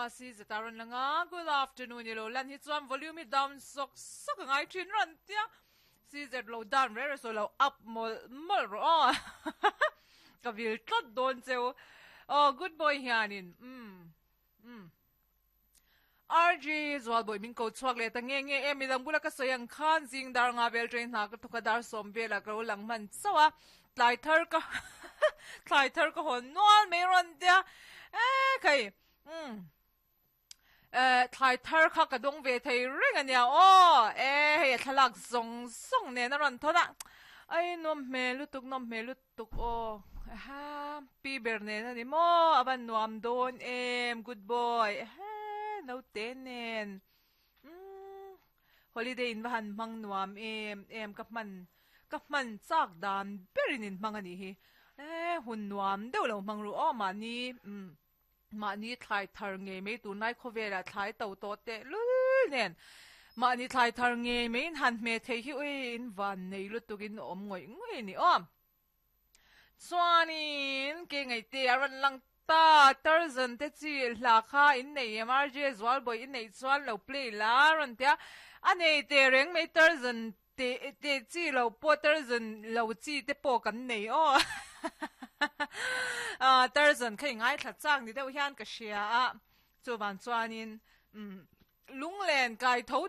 CZ a rawn lang a, good afternoon i lo lan hi chuan volume hi down sawk sawk a ngai thin rawn tia CZ lo down reng reng sawi lo up mawlh mawlh rawh aw ka vil tlat dawn cheu aw good boy hianin umm umm RG Zualbawi min ko chhuak leh ta nge nge em midang bula ka sawi ang khan zing dar nga vel train hna ka thawk a dar sawm velah ka lo lang hman chauh a tlai thar ka thlai thar ka hawn nual mai rawn tia e khai umm eh thlai thar kha ka dawng ve thei reng ania aw e hei a thlalak zawng zawng nen a rawn thawn a ai nawm hmel lutuk nawm hmel lutuk. Tuk aw ehe pi ber nen a ni maw a van nuam dawn em good boy ehe naute nen umm holiday in va han hmang nuam em em ka hman ka hman chak dan berin in hmang a nih hi e hun nuam deuh lo hmang ru aw mahni umm mahni thlai thar ngei mai tunlai khawvelah thlai to tawh teh lul nen mahni thlai thar ngei mai in han hmeh theih hi ui in van nei lutuk in awm ngawih ngawih a ni aw. Chuanin ke ngaihte a rawn lang ta Tarzan te chi hla kha in nei em RJ Zualbawi i neih chuan lo play la a rawn ti a, a nei teh reng mai Tarzan te te chi lo pawh Tarzan lo chi te pawh kan nei aw ah Tarzan kha i ngaithla chak ni deuh hian ka hria a chuvang chuanin umm lunglen kai tho.